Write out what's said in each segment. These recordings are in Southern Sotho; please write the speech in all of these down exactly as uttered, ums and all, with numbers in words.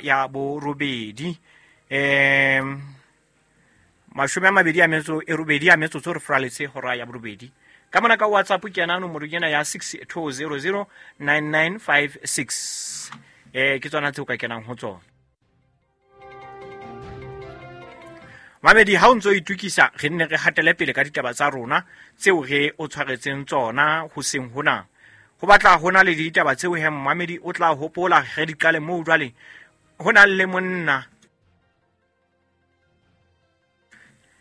Ya borobedi um mashome a mabedi a metso e robedi a metsotso re furaletse hora ya borobedi. Ka mona ka WhatsApp ke ena nomoro ena ya six two zero zero nine nine five six. Eh ke tsona tseo ka kenang ho tsona. Mamedi, ha o ntso itukisa re nne re hatele pele ka ditaba tsa rona tseo re o tshwaretseng tsona hoseng hona. Ho batla hona le ditaba tseo he mamedi o tla hopola re di qale moo jwale. Ho na le monna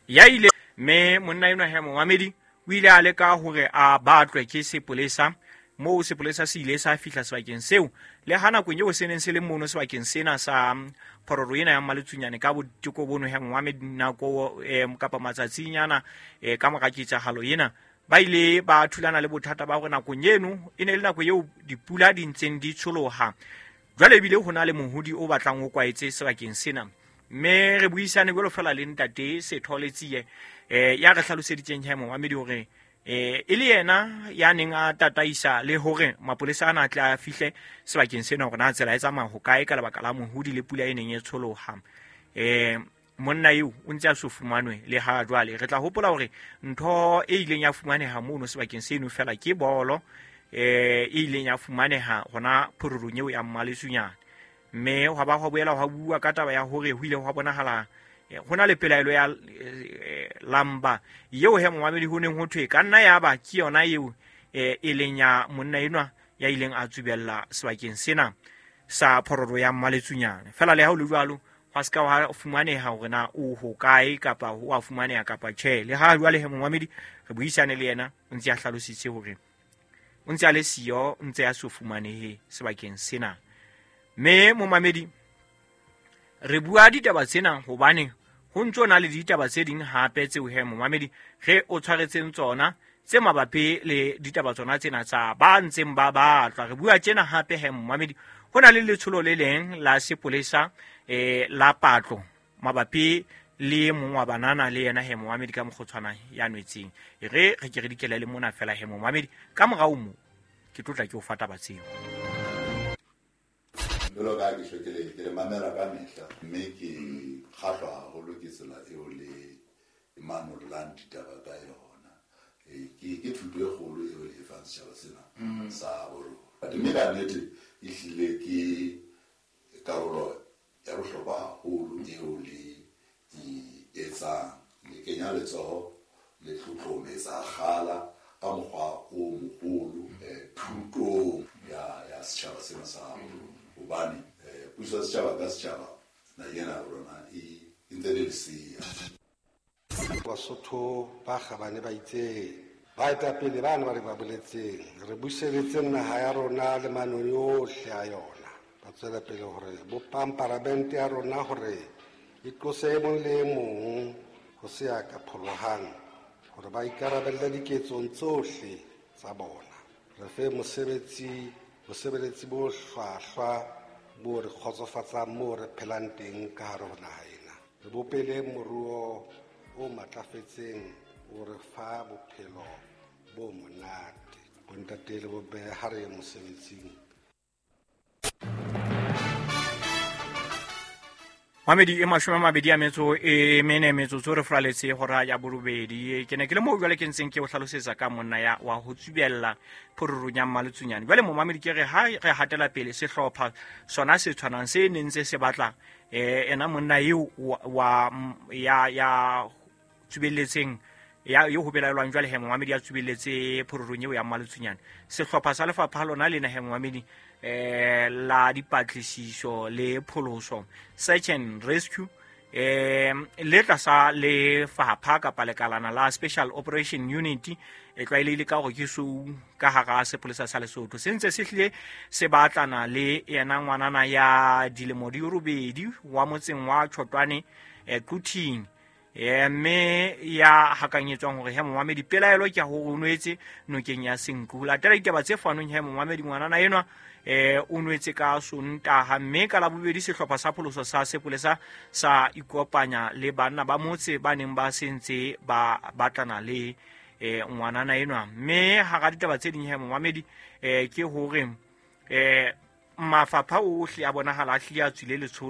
ya ile mme monna enwa he momamedi o ile a leka hore a batlwe ke sepolesa moo sepolesa se ile sa fihla sebakeng seo le ha nakong eo se neng se le mono sebakeng sena sa phororo ena ya Mmaletsunyane ka boteko bono he momamedi nako eh, kapa matsatsinyana eh, ka mora ketsahalo ena ba ile ba thulana le bothata ba hore nakong eno e ne le nako eo dipula di ntseng di tsholoha. Jwale ebile ho na le mohodi o batlang o kwaetse sebakeng sena. Mme re buisane jwalo fela le ntate Sethole Tsie eh ya re hlaloseditseng he momamedi hore eh e le yena ya neng a tataisa le hore mapolesa ana a tle a fihle sebakeng sena hore na tsela e tsamaya ho kae ka lebaka la mohodi le pula e neng e tsholoha. Eh monna eo o ntse a so fumanwe le ha jwale. Re tla hopola hore ntho e ileng ya fumaneha mono sebakeng seno fela ke bolo eh e ileng ya fumaneha hona phororong eo ya Mmaletsunyane. Mme hwa ba hwa boela hwa bua ka taba ya hore ho ile hwa bonahala hona le pelaelo ya eh, lamba eo he momamedi ho neng ho thwe ka nna ya ba ke yona eo eh, e leng ya monna enwa ya ileng a tsubella sebakeng sena sa phororo ya Mmaletsunyane. Fela le ha ho le jwalo hwa ska wa fumaneha hore na o ho kae kapa ho a fumaneha kapa tjhe. Le ha jwale he momamedi re buisane le yena o ntse a hlalositse hore o ntse a le siyo, ntse a so fumanehe sebakeng sena. Mme momamedi re bua ditaba tsena hobane ho ntso na le ditaba tse ding hape tseo he momamedi re o tshwaretseng tsona tse mabapi le ditaba tsona tsena tsa ba ntseng ba batlwa. Re bua tjena hape he momamedi ho na le letsholo le leng la sepolesa eh la patlo mabapi le mong wa banana le yena he momamedi ka mokgotshwana ya nwetseng. E re re ke re dikele le mona fela he momamedi ka morao mo ke tlotla ke o fa taba tseo. Jwalo ka ha ke tjho ke le ke le mamela ka mehla mme ke kgahlwa haholo ke tsela eo le manollang ditaba ka yona. Ke ke thuto e kgolo eo le e fang setjhaba sena sa bo rona. Mme ka nnete ehlile ke karolo ya bohlokwa haholo eo le e etsang. Le kenya letsoho le tlotlometsa kgala ka mokgwa o moholo thutong ya ya setjhaba sena sa bo rona. Hobane puso ya setjhaba ka setjhaba naheng ena ya rona e ntse le lesea. Basotho ba kgabane ba itseng baetapele bana ba re ba boletseng re buseletseng naha ya rona le manoni ohle a yona. Ba tswela pele hore bopang paramente ya rona hore e tlose e mong le e mong ho se ya ka pholohang hore ba ikarabelle diketsong tsohle tsa bona. Re fe mosebetsi bosebeletsi bo hlwahlwa bo re kgotsofatsang moo re phelang teng ka hare ho naha ena. Re bopele moruo o matlafetseng o re fa bophelo bo monate. Bontate le bomme ha re ye mosebetsing. Mamedi e mashome a mabedi a metso e mene metsotso re furaletse hora ya borobedi. Ke ne ke le moo jwale ke ntseng ke o hlalosetsa ka monna ya wa ho tsubella phororong ya Mmaletsunyane. Jwale momamedi ke re ha re hatela pele sehlopha sona se tshwanang se neng se se batla eh ena monna eo wa ya ya tsubelletseng ya yo ho belaelwang jwale he momamedi ya tsubelletse phororong eo ya Mmaletsunyane. Sehlopha sa lefapha lona lena he momamedi eh la dipatlisiso le pholoso search and rescue eh le tlasa lefapha kapa lekalana la Special Operation Unit e tlwaelehile ka hore ke sou ka hara sepolesa sa Lesotho se ntse se hlile se batlana le yena ngwanana ya dilemo di robedi wa motseng wa Tshotwane eh Quthing eh mme ya hakanyetswang hore he momamedi pelaelo ke hore o nwetse nokeng ya Senqu. Latela ditaba tse fanweng he momamedi ngwanana enwa eh o nwetse ka Sontaha mme ka Labobedi sehlopha sa pholoso sa sepolesa sa ikopanya le banna ba motse ba neng ba sentse ba batlana le eh ngwanana enwa. Mme hara ditaba tse ding he momamedi eh ke hore eh mafapha ohle a bonahala a hlile a tswile letsholo.